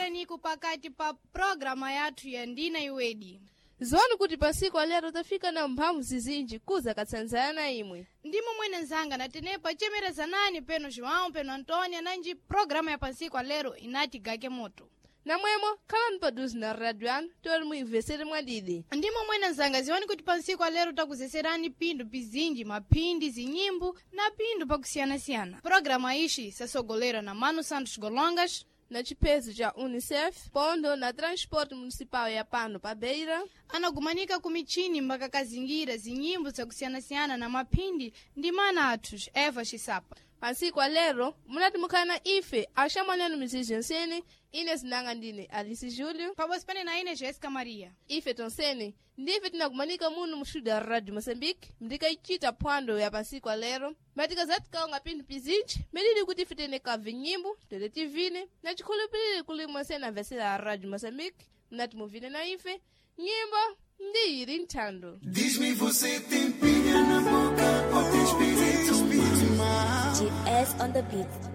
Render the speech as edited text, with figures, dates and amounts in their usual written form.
Tikusereniko pakati pa programa yathu ya Ndina Iwedi. Ziwani kuti pasiku alero tafika na mphamvu zizinji kuza katsanzana imwe. Ndimo mwene nzanga na tenepa chemerezanani peno João peno Antônia nanji programa ya pansiku alero inati gake moto. Namwemo khalani paduzi na radio yanu tori muimvesere mwadidi. Ndimo mwene nzanga ziwani kuti pansiku alero takuzeserani pindu pizinji maphindi zinyimbo na pindu pakusiyana-siyana. Programa ishi sasogolera na Mano Santos Golongas Na chipezo cha UNICEF, pondo na transporte municipal ya pano pa Beira, anagumanika ku michini mpaka kazingira zinyimbo zakusiyana-siyana na maphindi ndi mana athu Eva Xisapa. Pansiku alero munati mukhala na ife axamwananu mizizi yonsene ine zinanga ndine Alice Júlio Pabodzi pene na ine Jéssica Maria. Ife tonsene ndife tinakumanika muno mu studio ya Radio Moçambique ndikaichita phwando ya pansiku alero matikazatikaonga pinthu pizinji medidi kuti ife tene kabve nyimbo tete tivine na chikhulupiriro kuli mwensene amvesera a Radio Moçambique munati muvine na ife nyimbo ndi ili nthando. Diz-me, você tem pilha na boca ou tem espírito mau? GS on the beat.